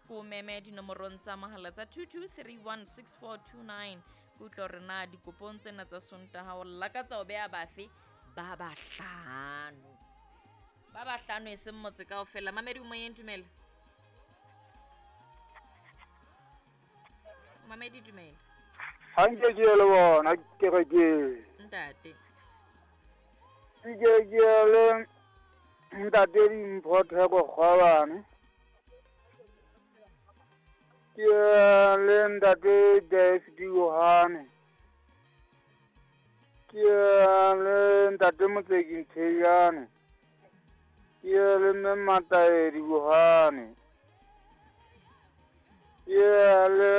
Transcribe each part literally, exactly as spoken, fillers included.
Ko meme dinomorong tsa mohala tsa two two three one six four two nine. Ke utlwa hore na dikopong tsena tsa Sontaha o lakatsa ho beha bafe ba bahlano. Ba bahlano e seng motse kaofela. Mamedi o moyeng, dumela. Mamedi dumela. Ha nke ke le bona kerekeng. Ntate. Ke ke le ntate Dimpho Theko Kgwabane. Ke le ntate Dave Diohane. Ke le ntate Motseki Ntheyane. Ke le mme Mataedi Diohane. Ke le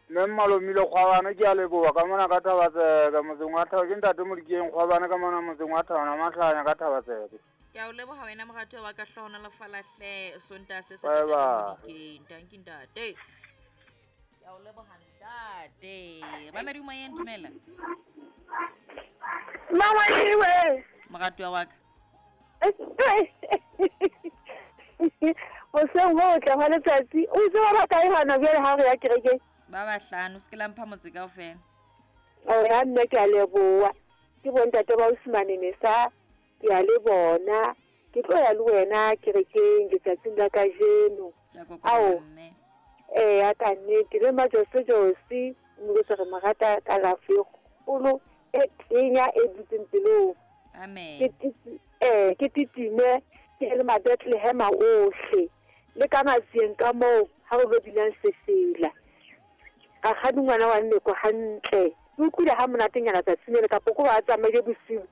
mme Malomile Kgwabane, ke a leboha ka mona ka Thabatseke motseng wa Thaba. Ke ntate Modikeng Kgwabane ka mona motseng wa Thabana Mahlanya ka Thabatseke. Ke a o leboha wena moratuwa wa ka, hlohonolofala hle Sontaha se se Bye ntate bye. Modikeng. Tanki ntate. Ke a o leboha ntate. Mamedi o moyeng, dumela. Mama iwe. Moratuwa wa ka. Hoseng ho tla hwa letsatsi. O itse ba ba kae hona jwale ha re ya kerekeng? Ba bahlano, se ke la mpha motse kaofela. Oh, ya nna ke a leboha. Ke bontate ba Osimane Nesa, ke a le bona. Ke tlo ya le wena kerekeng letsatsing la kajeno. Ke a Ao. kokoba mme. Eh, ya ka nnete le Majose Josi, mme re mo rata kalafo e kgolo e tenya e dutseng pelong. Amen. Ke titi, eh, ke titime ke le ma-Bethlehem ohle. Le ka matsieng ka moo ha re lo binang sefela. Rakgadi ngwana wa nneko hantle. Ke utlwile ha monatenyana tsatsing lele, kapa ko ba tsamaile bosiu.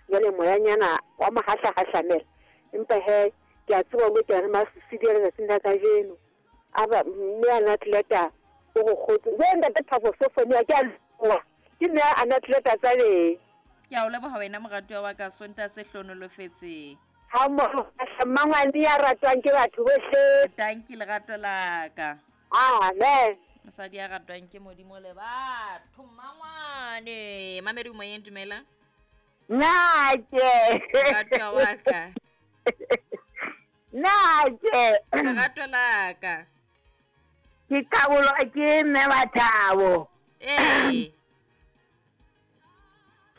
Jwale moyanyana wa mahahlahahlamela. Empa he, ke a tseba hore ke a re masisi a letsatsing la kajeno. A ba mme a natleta o go kgotse. Jwale ntate Thabo Sofonia ke a leboha. Ke mme a natleta tsa beng. Ke a o leboha wena moratuwa wa ka, Sontaha se hlohonolofetseng. Ha mmoho mmangwane ya ratwang ke batho bohle. Tanki lerato la ka. Amen. Mosadi ya ratwang ke Modimo le batho, mmangwane. Mamedi o moyeng, dumela. Nake. Moratuwa wa ka. Nake. Lerato la ka. Ke kabolwa ke mme Mathabo. Ee.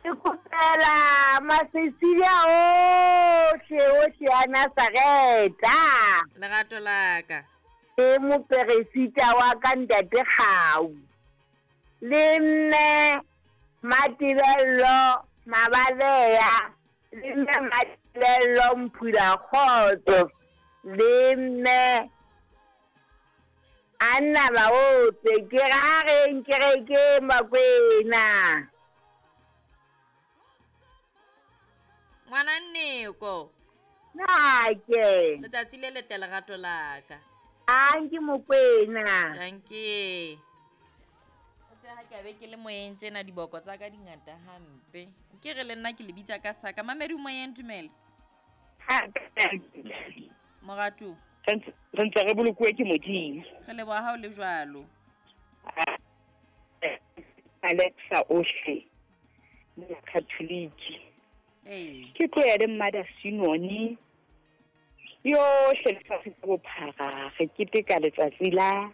Ke kopela Masesilia ohle ohle a Nazareta. Lerato la ka. Ke moperesita wa ka ntate Kgau. Le mme Matibello Mabaleya. Le mme Matibello Mphula Kgotso. Le mme Anna Baotse. Ke ra reng kerekeng Bakwena. Ngwana Nneko. Nake. Letsatsi le letle lerato la ka. Anke Mokwena. Dankie. O tse ha ke a be ke le moyeng tjena diboko tsa ka di ngata hampe. Ke re le nna ke le bitsa ka saka. Mamedi o moyeng, dumela. Moratu. Re ntse re bolokuwe ke Modimo. Re leboha ha o le jwalo. Alexa ohle. Nna Catholic. Ee. Ke tlo ya le Mother Sinoni. Yohle lefatshe ka bophara re keteka letsatsi la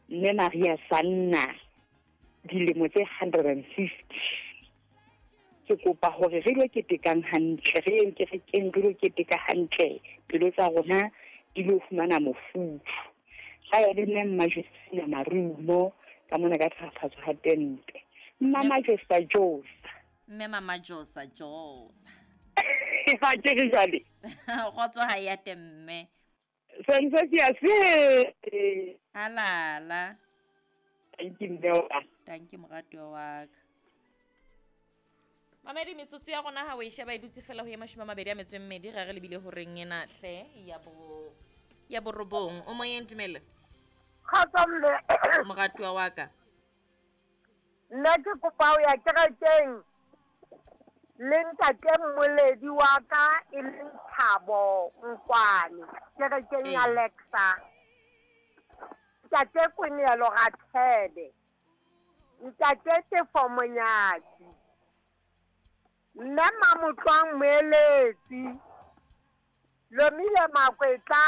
Mme Maria Sanna dilemo tse hundred and fifty. Ke kopa hore re lo ketekang hantle, re yeng kerekeng re lo keteka hantle, pelo tsa rona di lo fumana mofuthu. Ga ya le mme Mma Josefina Marumo ka mona ka thakgatso ha tente. Mma Majosa Josa. Mme Mama Josa Josa. Ha ke re jwale. Kgotso ha ya temme. Sentse ke a se. Halala. Thank you mme wa. Thank you moratuwa wa ka. Mamedi metsotso ya rona ha o e sheba e dutse fela ho ye mashome a mabedi a metso e mmedi, ra re lebile horeng ena hle ya bo ya borobong. O moyeng, dumela. Kgotso mme. Moratuwa wa ka. Nna ke kopa ho ya kerekeng le ntate Mmoledi wa ka e leng Thabo Nkwane kerekeng ya Ee. Alexa. Ntate Kwenelo Rathebe. Ntate Tefo Monyaki. Mme Mamotlwang Moeletsi. Lomile Makwetla.